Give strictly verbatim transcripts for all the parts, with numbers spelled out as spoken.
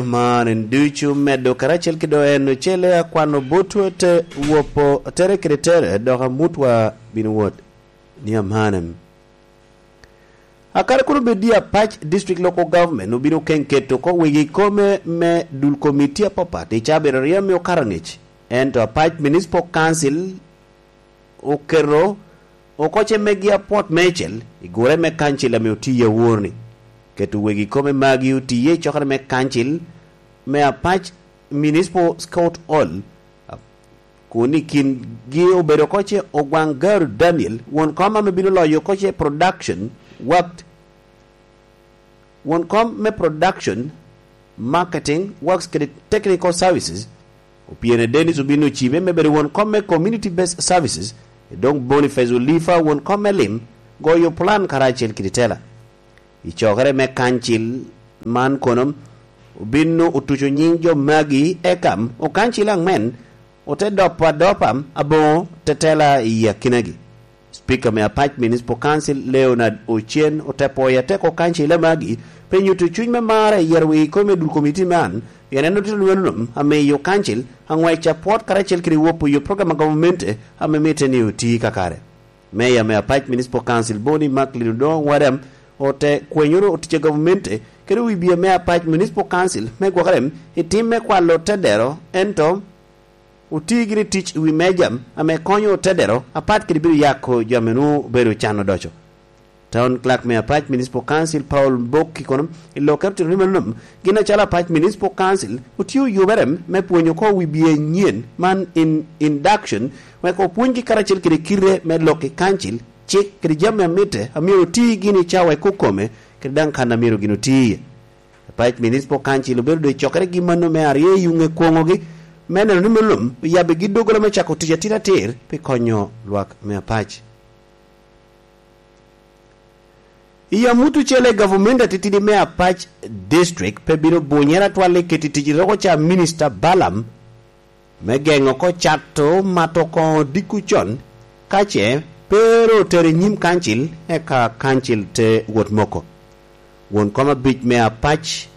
Man en ducu medo karacel ki do en ocele akwano botwa te wopo tere kede tere dok amutwa bino wot ni amanem. Akare kun obed i Apac District Local Government obino ken keto oko wegi kome me dul komiti apapat i cabit aryo me okato angec, ento Apac Municipal Council oketo oko ce megi apwot meicel i gure me kancil ame otiye awor-ni. Keto wegi kome magi otiye i cokere me kancil me Apac Municipal Scout Hall, kun i kingi obedo oko ce Ogwaŋ Garu Daniel, won kom ame bino loyo oko ce Production, Work, won kom me Production, Marketing, Works kede Technical Services, Opiene Dennis obino ocibe me bedo won kom me Community Based Services, e doŋ Boniface Olifa won kom me lim, goyo plan karacel kede tela. I cokere me kancil man kono, obino otuco nyiŋ jo magi eka okancil aŋwen ote dopo adopa aboŋo tetela i akinagi. Speaker me Apac Municipal Council Leonard Ocen ote pwoyo atek okancil magi pi nyuto cuny me marre i yero wegi kome dul komiti man, pien en otito lweno nom amiyo kancil aŋwec apwot karacel kede wopo yo program a gamente ame mitte ni oti kakare. Meya me Apac Municipal Council Boni Macklin Odongo Wadam ote kwenyoro otic a gamente kede wibia me Apac Municipal Council me gwokere i tim me kwalo tedero, ento oti gire tic i wi meja ame konyo tedero apat kede bedo yako jo ame nwoŋo obedo can odoco. Town Clerk me Apac Municipal Council Paul Mbok i kono i lokke otito ni mano gin acalo Apac Municipal Council otio yubere me pwonyo oko wibia anyen man in induction, wek opwonygi karacel kede kite me lok i kancil, cik kede jami amitte a myero oti gin i cawa i kokome kede daŋ kan a myero gin oti iye. Apac Municipal Council obedo doŋ i cokere gi mano me aryo i yuŋe kwoŋogi me neno ni mano oyabbigi doggola me cako tic atir atir pi konyo lwak me Apac. I amut ocele gavumenti atitidi me Apac District pe bino bunyere atwal i keti tic i roko ca Minista Balaam me geŋo oko cato mato koŋo dikku con, ka ce pe ru otero i nyim kancil, eka kancil te wot moko. Won kom abic me Apac,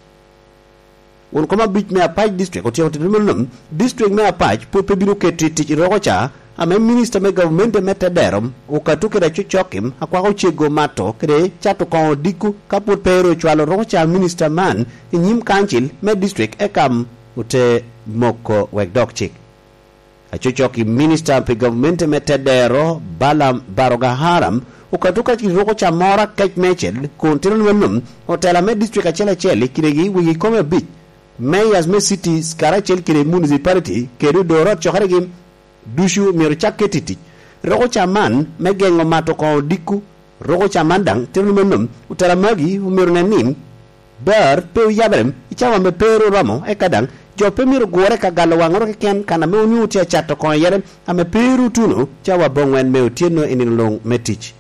won kom abic me Apac District otyeko tito meno, District me Apac pwod pe bino keto i tic i roko ca, ame minista me gavumenti me tedero, Okato kede Acocokim, akwako cego mato kede cato koŋo dikku, ka pwod pe ru ocwalo roko ca minista man i nyim kancil me district, eka ote moko wek dok cik. Acocoki minista pi gavumenti me tedero, Balaam Barogahara, okato ka roko ca moro akec meicel kun tito ni mano, otela me district acel acel i kinegi wegi kome abic, mayors me cities karacel kede municipality kede odoro acokeregi ducu myero cak ket i tic. Roko ca man me geŋo mato koŋo dikku, roko ca man daŋ tito ni mano, otela magi omyero nen ni bar pe oyabere i cawa ame pe ru oromo, eka daŋ jo pe myero gure ka galo waŋoro keken kan ame onwoŋo tye acato koŋo iye ame pe ru otuno cawa aboŋwen me otyeno i nino luŋ me tic.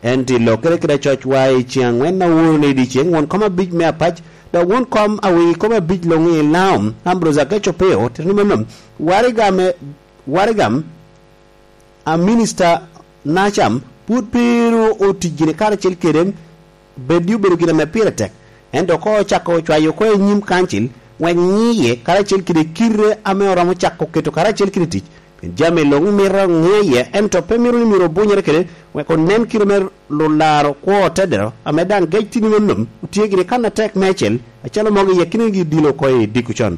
Ento i lokere kede acocwa i ceŋ aŋwen a woro ni i dyeceŋ won kom abic me Apac, dok won kom a wegi kome abic luŋ i Laom, Ambrose Ageco Peo, tito ni mano, waraga me, waraga a minista Nacam pwod pe ru otic gini karacel kede, beddi obedo gin ame pire tek, ento koŋ ocako cwayo oko i nyim kancil, wek ŋiye karacel kede kite ame oromo cako keto karacel kede tic, pien jami luŋ mito ŋiye, ento pe mito ni myero obunyere kede, wek onen kite me lularo kwo tedero, ame daŋ gec tini me nom, otye gini kan atek meicel, acalo mogo i akinagi dilo oko i dikku con.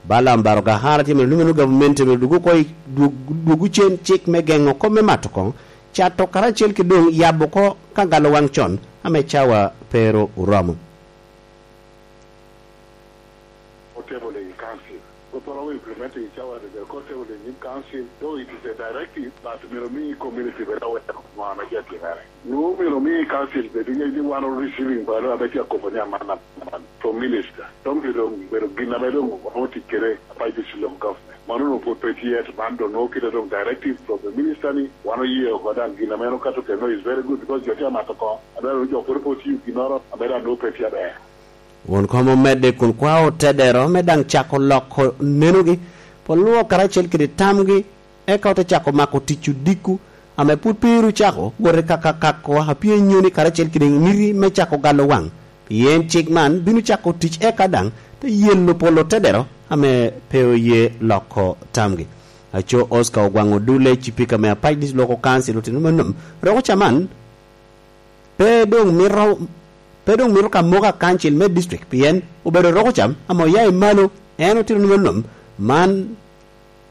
Balaam Barogahara tye mito lumeno gavumenti mito dwogo oko i, dwog-, dwogo cen cik me geŋo kop me mato koŋo, cato karacel ki doŋ yabo oko ka galo waŋ con, ame cawa pe ru oromo. Otable in council. Kopporo implementing cawa de ko table in council, though it is a directive, but mito mi community bedo aware of ŋo ame tye atimere. Nwoŋo myero omi council bed i ni wan receiving balo ame tye akobo ni aman aman from minister. Dong myero dong bedo gin ame dong wano tic kede Apac District Local Government. Mano onwoŋo pwod pe tye, ento man dong nwoŋo kite dong directive from the minister ni wan oye oko daŋ gin ame en okato kede no is very good because jo tye amato oko. Adwaro ni jo pwod pe otiyo ginnoro ame daŋ nwoŋo pe tye aber. Won kom omedde kun kwao tedero me daŋ cako loko nenogi, pol lwok karacel kede tamgi, eka ote cako mako tic odiko, ame pwod pe ru cako wot i kakakakwa a pye nyoni karacel kede miti me cako galo waŋ, pien cik man bino cako tic eka daŋ te yelo polo tedero ame pe oye loko tamgi. Aco Oscar Ogwaŋ Odule, cipika me Apac District Local Council, otito ni meno, Rokoca man pe doŋ mito, pe doŋ mito ka moko a kancil me district, pien obedo Rokoca ame oya i malo. En otito ni meno, man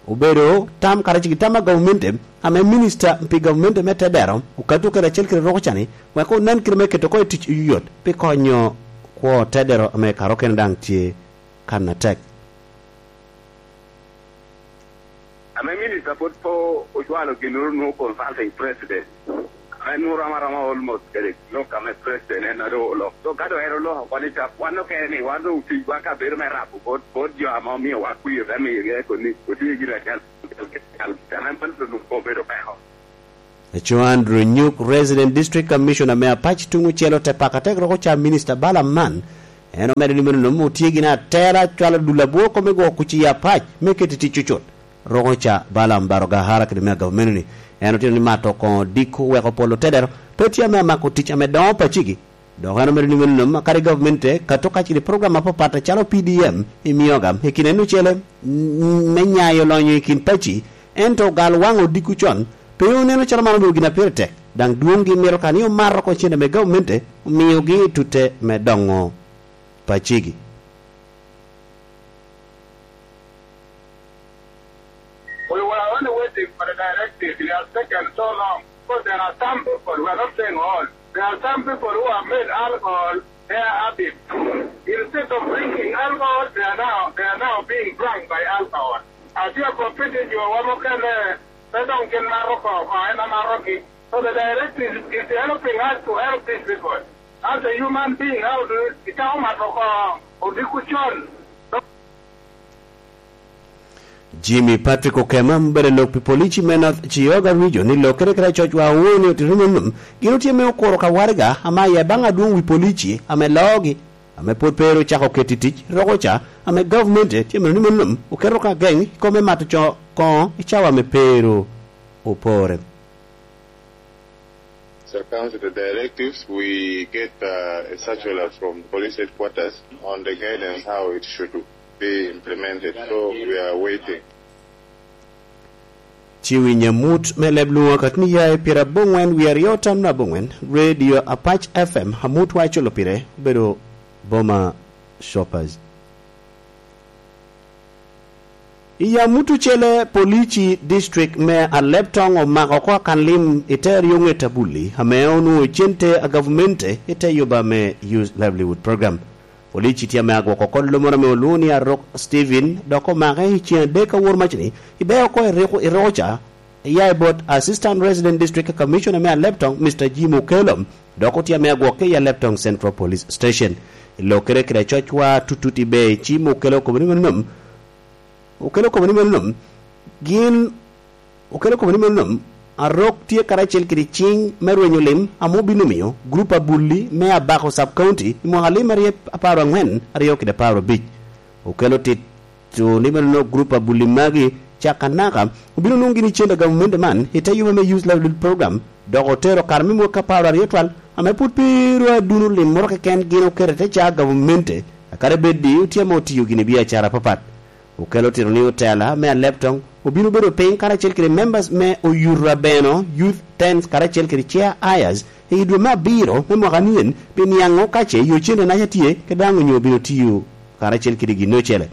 obedo tam karacel ki tam a gavumenti ame minista pi gavumenti me tedero okato kede acel kede Rokoca-ni, wek onen kite me keto oko i tic oyot pi konyo kwo tedero ame karokene daŋ tye kan atek. Ame minista pwod po ocwalo ginnoro nwoŋo consulting president. Ame nwoŋo rom aroma almost kede lok ame president en a doŋ olok. So ka doŋ en oloko oko ni cap, wan okene ni wan doŋ oticwa ka bedo me rabo bot, bot jo ame omiowa kwir, te miyogi eko ni otye gin acel, ame man doŋ obedo peko. Aco Andrew Nyuk, Resident District Commissioner me Apac tuŋ ocel, ote pako atek Rokoca Minista Balaam man. En omedo ni meno nom otye gin atera cwalo dul abwor kome gwoko kuc i Apac me keto i tic cucut. Rokoca Balaam Barogahara kede me agavumeno-ni, en otito ni mato koŋo diko weko polo tedero pe tye ame amako tic ame doŋo pacigi. Dok en omedo ni meno nom, kadi gavumenti te kato kacel i program apapat acalo P D M i mioga i kin en ocele, mm, me nyayo lonyo i kin paci, ento ogal waŋ odiko con, pe oneno calo man obedo gin a pire tek, daŋ dwoŋgi mito ka ni omato oko cente me gavumenti omiogi i tute me doŋo pacigi. We were only waiting for the directive. It has taken so long. Because there are some people, we are not saying all, there are some people who have made alcohol their habit. Instead of drinking alcohol, they are now, they are now being drunk by alcohol. Atye ka kop pi jo wa mukene, pe dong gin mato oko, oko en amarogi. So the directive is helping us to help these people. As a human being, how do you, icako mato oko odiko con? Jimmy Patrick Okema, obedo lok pi polici me North Chiyoga Region, ni lokere kede acocwa awoŋo ni otito meno gin otye me okuro ka waraga ame aye baŋ adwoŋ wi polici ame loogi, ame pwod pe ru ocako keto i tic, Rokoca, ame gavumenti tye meno ni meno oketo ka geŋ i kome mato co koŋo i cawa ame pe ru opore. So comes to the directives, we get, uh, a circular from police headquarters on the guidance how it should be implemented. So we are waiting. Ci winyo amut me leb lwoŋo akati ni ya i pyera aboŋwen wie aryo tam na aboŋwen, Radio Apac F M, amut wa iculo pire, obedo Boma Shoppers. I yam mutucele, polici district me Aleptong omako oko akan lim i te aryo ŋet abulli, ame onwoŋo cente a gavumenti i te yuba me Youth Livelihood Program. Polici tye ame agwoko oko lomoro ame olwoŋo ni Arok Stephen, dok omake i ceŋ adek awor macni, i beo oko i Riko-, i Rokoca, iya i bot Assistant Resident District Commissioner me Aleptong, Mister Jim Okello, dok otye ame agwokke i Aleptong Central Police Station. I lokere kede acocwa tutut i ber ci me Okello okobo ni meno nom, Okello okobo ni meno nom, gin, Okello okobo ni meno nom, Arok tye karacel kede ciŋ me rwenyo lim ame obino miyo gurup abulli me Abako Sub County i mwaka alim aryo apar angwen aryo kede apar abic. Okello tit to ni meno gurup abulli magi caka naka obino nwoŋo gini cente a gavumenti man i te yuba me Youth Livelihood Program, dok otero kare me mwaka apar aryo twal, ame pwod pe ru aduno lim moro keken gin oketo i te ca gavumenti, akadi bed ni otye ame otiyo gini biacara apapat. Okello tito ni otela me Aleptong obino bedo piny karacel kede members me Oyuto Abeno Youth Tents karacel kede Chair Ayers i dwe me abiro me mwaka nien, pi niaŋ ŋo ka ce yo cente naca tye, kede daŋ onyo obino tiyo karacel kede gin ocele.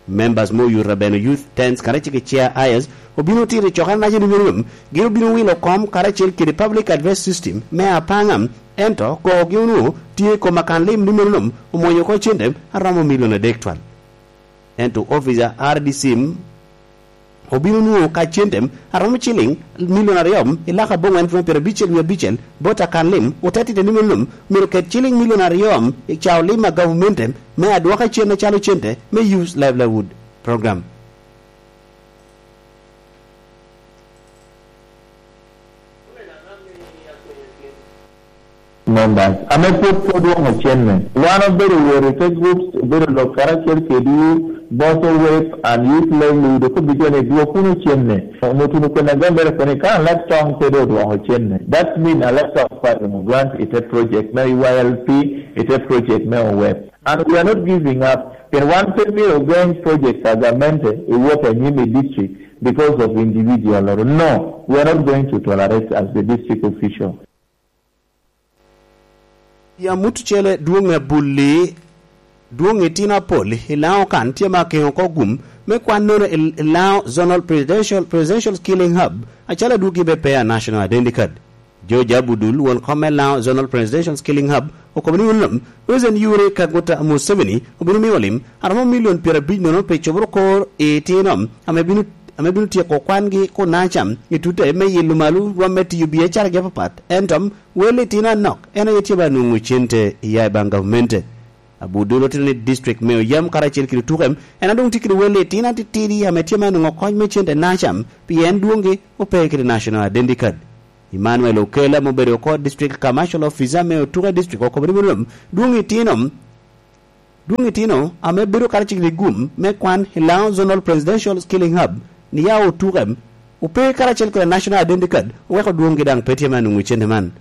Members me Oyuto Abeno Youth Tents karacel kede Chair Ayers obino tito i cokere naca ni miriam, gin obino wilo kom karacel kede Public Address System me Apanga, ento kogi onwoŋo tye i kom akan lim ni meno nom omwonyo oko cente aromo milion adek twal. Ento ofica R D C obino nwoŋo ka cente aromo ciliŋ milion aryo i lak aboŋwen pwon pyerabicel wie abicel bot akan lim, ote tite ni meno myero ket ciliŋ milion aryo i cao lim a gavumenti me adwoka cen acalo cente me Youth Livelihood Program. Members ame pwod pe odwoŋo cenne. Wan obedo wot i te groups, obedo lok karacel kedi Boso Web and Youth Livelihood, okobi jo ni dwok wunu cenne. Onyo tuno kwena gambere koni ka Alek Tong pe do odwoŋo cenne. That mean Alek Tong pa dwoŋo grant i te project me Y L P, i te project me Web. And we are not giving up. Pien wan pe myero ogeny project a gamente i wot anyim i district because of individual. No, we are not going to tolerate as the district official. Ya mutu cele dwong abulli dwong itino apol i Lango kan tye ma akeŋo oko gum me kwan nono i Lango Zonal Presidential, Presidential Skilling Hub acalo adwoggi be pe a National Identity Card. George Abudul, won kom me Lango Zonal Presidential Skilling Hub, okobo ni wun lom President Yoweri Kaguta Museveni obino miyo lim a romo milion pyerabic nono pi coboro kor i itino ame bino ame bino tyeko kwangi kunaca i tute me yilo malo rwom me tiyo biacaragi apapat, ento wel itino anok en aye tye ba nwoŋo cente iya i baŋ gavamente. Abudul otito ni district me Oyam karacel kede Otuke en adwoŋ tye kede wel itino atitidi ame tye ma nwoŋo kony me cente naca pien dwoŋgi ope kede National Identity Card. Emmanuel Okela ame obedo oko District Commercial Officer me Otuke District okobo ni meno dwoŋ itino dwoŋ itino ame bedo karacel kede gum me kwan i Lango Zonal Presidential Skilling Hub ni ya Otuke ope karacel kede National Identity Card oweko dwoŋgi daŋ pe tye me nwoŋo cente man.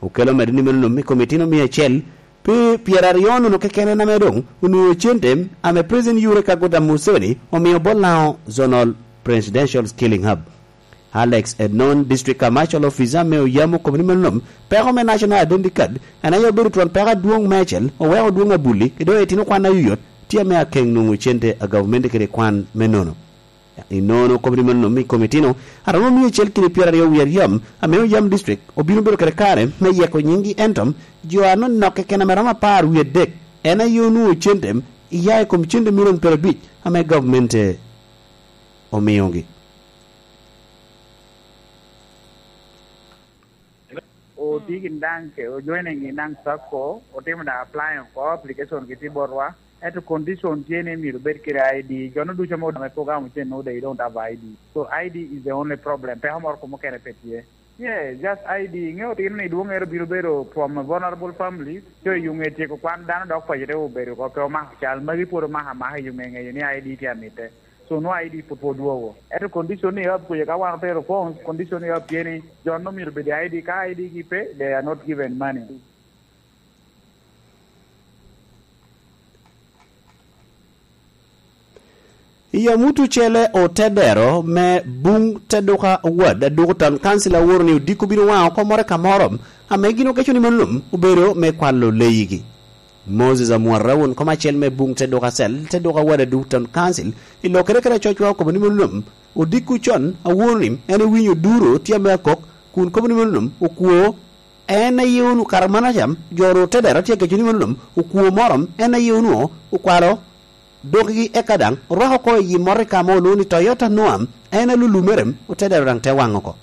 Okela omedde ni meno i kom itino mia acel pi pyeraryo nono keken en ame doŋ onwoŋo cente ame President Yoweri Kaguta Museveni omio bot Lango Zonal Presidential Skilling Hub. Alex Enon, District Commercial Officer me Oyam okobo ni meno peko me National Identity Card en aye obedo twon peko adwoŋ meicel oweko dwoŋ abulli i doŋ itino kwan ayoyot tye ame akeŋ nwoŋo cente a gavumenti kede kwan me nono. Inono okobo ni meno i kom itino a romo mia acel kede pyeraryo wie aryo ame Oyam District obino bedo kede kare me yeko nyinggi ento jo anonok keken ame romo apar wie adek en aye onwoŋo cente iya i kom cente milion pyerabic ame gavumenti omiogi. Otye gin daŋ ke ojoining gin daŋ sacco, otimo daŋ applying oko application gitye botwa. Ento condition tye ni myero obed kede I D. Jono ducu ame odongo i program ocen no they don't have I D. So I D is the only problem. Peko moro ko mukene pe tye. Yeah, just I D. Ŋeo tino ni dwongere bino bedo from vulnerable families. So i ŋe tyeko kwan dano dok paco te obedo oko pe omako cal. Magi pwod omako amaka i ŋe ŋeyo ni I D tye amite. So nwo I D pwod pwod dwogo. Ento condition ni ab kuye ka wan otero forms, condition ni ab tye ni jo no myero bedi I D. Ka I D gi pe, they are not given money. I Yamutu cele otedero me buŋ te duka wad aduku tan kancil aworo ni odiko bino waŋo oko more ka moro ame gin ogeco ni mano lum obedo me kwalo leyigi. Moses Amwara won kom acel me buŋ te duka cel te duka wad aduku tan kancil i lokere kede acocwa okobo ni mano lum odiko con aworo ni en ewinyo duro tye ame akok kun kobo ni mano lum okwo En aye wunu kara manaca, jo ru te dero tye ageco ni mano lum okwo moro, en aye wunu okwalo dokgi eka daŋ orwako oko i yi motoka mo olwoŋo ni Toyota Noah, en alulumere, ote dero daŋ te waŋ oko.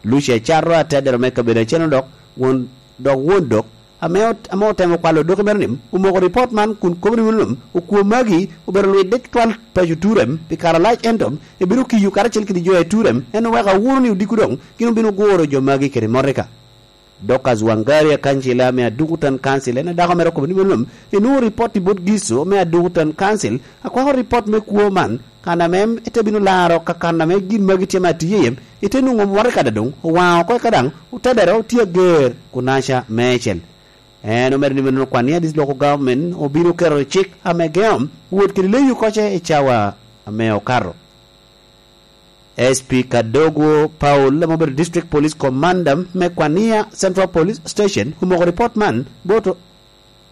Lucia Carro atedero me kabedo acel dok won dok won dok ame ot- ame otemo kwalo doki mere ni omoko ripot man kun kobo ni mano lum okwo magi obedo lwidde tutwal paco Turem pi kare alac ento ebino kiyo karacel kede jo i Turem en oweko awuro ni odiko doŋ gin obino guro jo magi kede motoka. Dorcas Wangari akancila ame aduku tan kancil en adako mere okobo ni mano lum enwoŋo ripot i bot Gico me aduku tan kancil akwako ripot me kwo man kan ame ete bino laro ka kan ame gin magi tye ma tiye iye ite nwoŋo motoka dadoŋ owaŋ oko eka daŋ otedere otye ager kunaca meicel. En omedo ni meno kwan ni adit loko government obino keto cik ame geŋo wot kede leyo koce i cawa ame okato. S P Kadogo Paul ame obedo District Police Commander me Kwania Central Police Station omoko ripot man bot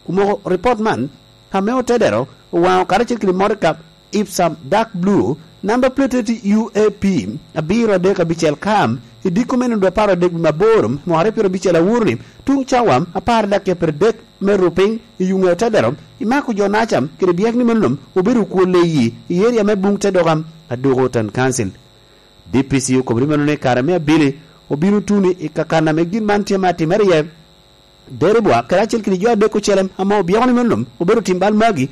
omoko ripot man ame otedero owaŋo karacel kede motoka Ipsum Dark Blue namba plate U A P abiro adek abicel kam i diko me nino apar adek wi maboro mwaka aryo pyero abicel aworo ni tuŋ cawa apar dakiya pyero adek me ru piny i yuŋe otedero imako jo nacam kede byek ni meno obedo okwo leyi i eria me buŋ te dokam aduko tan kancil. D P C okobo ni meno ni kare me abili obino tuno i kakan ame gin man tye ma atimere iye. Deribwa kede acel kede jo adek ocele ame obyeko ni meno obedo tim bal magi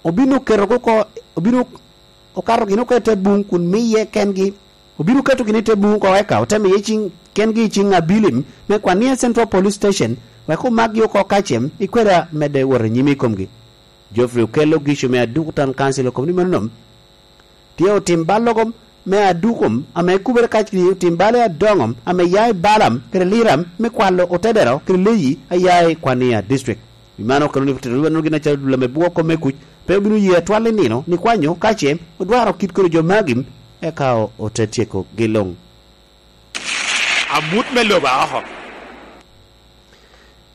obino keto oko obino okato gin oko i te buŋ kun miye kengi obino keto gin i te buŋ oko eka ote miye ciŋ kengi i ciŋ abilim me kwan ni en Central Police Station wek omakgi oko kacem i kweda medde wot anyim i komgi. Geoffrey Okello Gico me Aduku Town Council okobo ni meno nom tye otim bal logo me Aduku ame kubere kacel kede otim bal adoŋo ame ya i Balam kede Liram me kwalo otedero kede leyi a ya i Kwania District. Pi man okelo ni tito ni wano gin acalo dul ame bwoko me kuc pe obino ye atwal i nino ni kwanyo ka ce odwaro kit kodi jo magi, eka o-, ote tyeko gi luŋ. Amut me lobo aoko.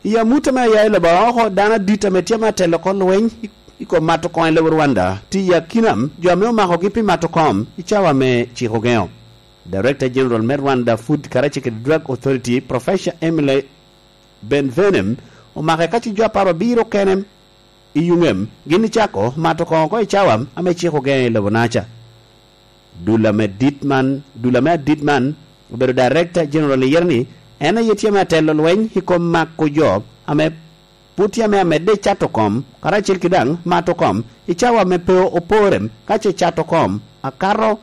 I amut ame aya i lobo aoko, dano adit ame tye ame atelo oko lweny i, i kom mato koŋ i lobo Rwanda, tye i akina jo ame omakogi pi mato koŋ i cawa ame cik ogeŋo. Director General me Rwanda Food karacel kede Drug Authority, Professor Emily Benvenem, omake ka ci jo apar abiro kene i Yungem, gin icako mato koŋ oko i cawa ame cik ogeŋo i lobo Naca. Dul ame dit man, dul ame adit man, obedo Director General i yere ni, en aye tye ame atelo lweny i kom mako jo ame pwod tye ame amedde i cato kom, karacel ki daŋ mato kom, i cawa ame pe opore, ka ce cato kom akato,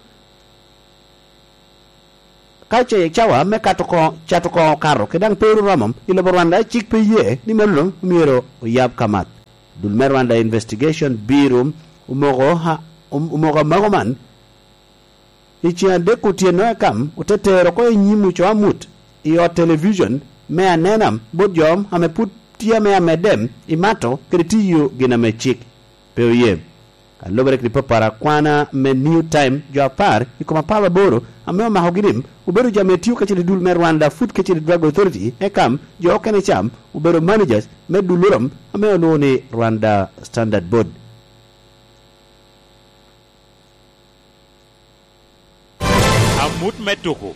ka ce cawa me kato ko-, cato koŋ okato, kede daŋ pe oromo, i lobo Rwanda cik pe ye ni mano myero oyab kamat. Dul me Rwanda Investigation Bureau omoko ha-, om-, omoko amako man i ceŋ adek otyeno, eka ote tero oko i nyim oco amut i ot television me Anena bot jo ame pwod tye ame amedde i mato kede tiyo gin ame cik pe oye. Ka lubere kede papara kwana me New Time, jo apar i kom apar aboro ame omakogi ni obedo jo ame tio kacel i dul me Rwanda Food kacel i Drug Authority, eka jo okene ca obedo managers me dul orom ame olwoŋo ni Rwanda Standard Board. Amut me tuku.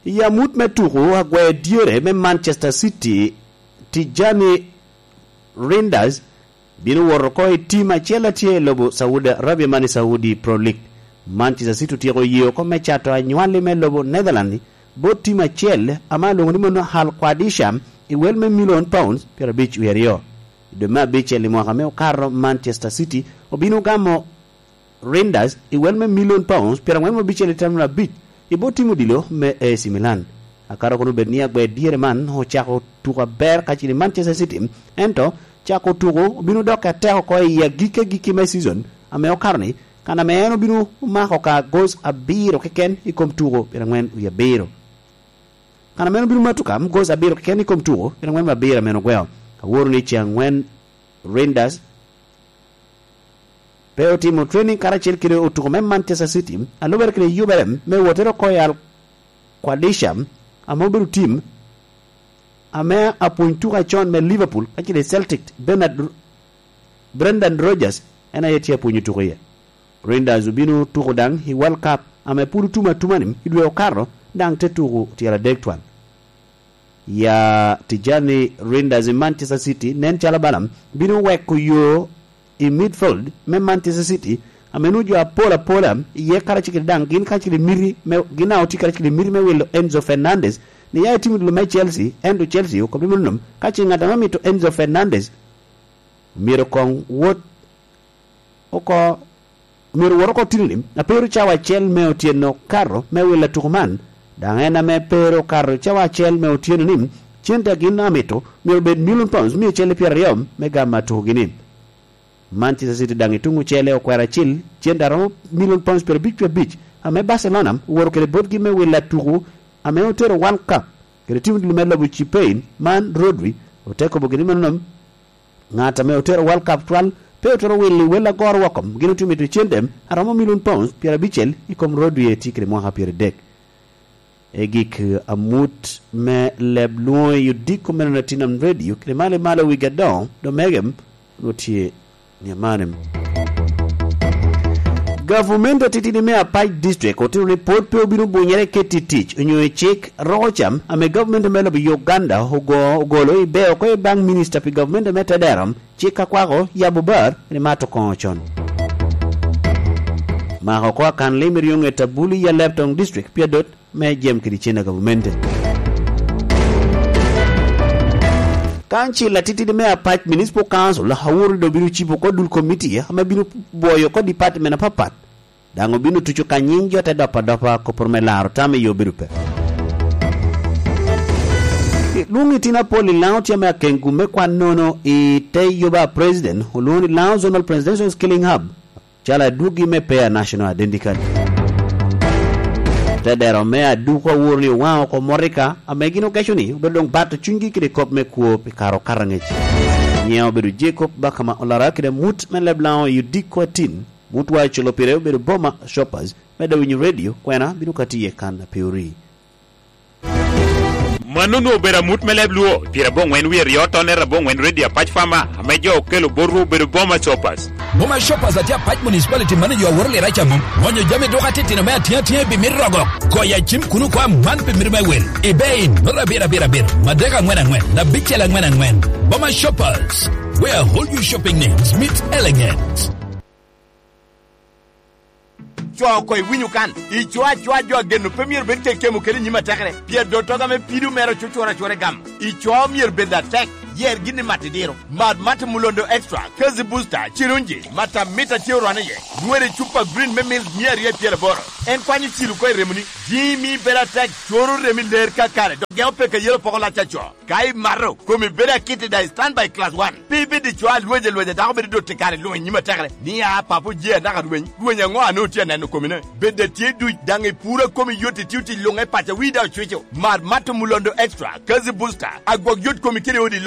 I amut me tuku, agwer dyere me Manchester City, Tijani Reinders, bino wot oko i tim acel a tye i lobo Saudi Arabia, man i Saudi Pro League. Manchester City otyeko ye oko me cato anywali me lobo Netherlands bot tim acel ame alwoŋo ni mono Al Qadisha i wel me milion pounds pyerabicel wie aryo. I dwe me abicel i mwaka me okato, Manchester City obino gamo Reinders i wel me milion pounds pyerangwen abicel i tam abic i bot tim odilo me A C Milan. Akato kono bed ni agwer dyere man ocako tuko aber kacel i Manchester City, ento cako tuko obino dokke atek oko i agikki agikki me season ame okato-ni, kan ame en obino mako ka goals abiro keken i kom tuko pyerangwen wie abiro. Kan ame en obino mato ka goals abiro keken i kom tuko pyerangwen wie abiro ame en ogweo. Aworo ni ce angwen Reinders pe otimo training karacel kede otuko me Manchester City, a lubere kede yubere me wottere oko i Al Qadisha, ame obedo tim ame apwony tuko acon me Liverpool kacel i Celtic, Bernard, Brendan Rodgers en aye tye apwonyo tuko iye. Reinders obino tuko daŋ i World Cup ame pwod otum atuma-ni i dwe okato, daŋ te tuko tyeradek twal. Ya Tijani Reinders i Manchester City nen calo bala bino weko yo i midfield me Manchester City, ame nwoŋo jo apol apola iye karacel kede daŋ gin karacel i miti me, gin daŋ otye karacel i miti me wilo Enzo Fernandez ni ya etimo dilo me Chelsea, ento Chelsea okobo ni mano nom, ka ce ŋat ame mito Enzo Fernandez myero koŋ wot oko, myero wot oko tino-ni, a pe ru cawa acel me otyeno kato me wilo tuko man. Daŋ en ame pe ru okato cawa acel me otyeno-ni, cente a gin amito myero obed milion pounds mia acel i pyeraryo me gamo atukogi-ni. Manchester City daŋ i tuŋ ocele okwero acil, cente a romo milion pounds pyerabic wie abic, ame Barcelona owoto kede botgi me wilo atuko ame otero World Cup kede tim dul me lobo Spain, man Rodri, ote kobo gin i manonom. Ŋat ame otero World Cup twal pe otwero wilo i wel agoro woko, gin otye mito cente a romo milion pounds pyerabicel i kom Rodri eti kede mwaka pyeradek. I gik amut me leb lwoŋo i odiko me Nonatinem Radio kede malo i malo wigi adoŋo, Domegem onwoŋo tye ni amanem. Gavumenti atitidi me Apac District otito ni pwod pe obino bunyere i keti tic onyo i cik roko cam ame gavumenti me lobo Uganda ogo-, ogolo i beo oko i baŋ minista pi gavumenti me Tedero, cik akwako yabo bar ri mato koŋo con. Mako oko akan lim i ryoŋet abuli i Alebtong District pi adot me jem kede cen a gavumenti. Kancil atitidi me Apac Municipal Council aworo ni obino cibo oko dul komiti ame bino bwoyo oko department apapat. Daŋ obino tuco ka nyiŋ jo te dopo adopa, koporo me laro tam i yo bedo pe. Lwong itino apol i Laŋo tye ame akengu me kwan nono i te yoba a President olwoŋo ni Laŋo Zonal Presidential Skilling Hub, calo adwogi me Payer National Identity Card. Te dero me aduko awor ni owaŋ oko morika ame gin okeco ni obedo doŋ bato cunygi kede kop me kwo pi kare okato aŋec. Nyiŋe obedo Jacob Bakama Olara kede amut me leb Laŋo i odiko atin. Mutwa ocolo pire obedo Boma Shoppers, medde winyo redio, kwena bino kati iye kan a pe ori. Mano onwoŋo obedo amut me leb Luo, pire aboŋwen wie ryo tonne aboŋwen redio Apac Fama, ame jo okelo botwu obedo Boma Shoppers. Boma Shoppers atye Apac Municipality manager aworo lira ca mom. Gonyo jami duka titino me atiŋ atiŋ i bimit rogo. Goyo acim kuno kwa man pi mito me wel. Ibei, nota abiro abiro abiro, madek aŋwen aŋwen, abicel aŋwen aŋwen. Boma Shoppers, where all your shopping needs meet elegance. Co oko iwinyo kan, ico acoa jo ageno pe myero bed kekemo kede i nyim atekere, pien dottoga me pido mere ocucura acura i gam. Ico myero bed atek, yer gin i mat idiro. Mad Mate Mulondo Extra, Kazi Booster, Cirunji, Matamita tye orwane iye. Nywere cupa green me milk mia aryo i pyeraboro. En kwanyo cilo oko i remoni, jimi bedo atek, coro remi ler kakare, dok geo peke yelo poko lac aco. Ka imato, komi bedo akit i daŋ i standby class one. Pe ibed i co alwec alwec a dako bedo dot i kare luŋ i nyim atekere. Ni a papo je anaka rweny, rweny aŋo a nwoŋo tye aneno komine? Bed a tye duc daŋ i puro a komi yot i tio tic luŋ e paco wi daŋ ocwico. Mar Mato Mulondo Extra, Kazi Booster, agwok yot komi kede odi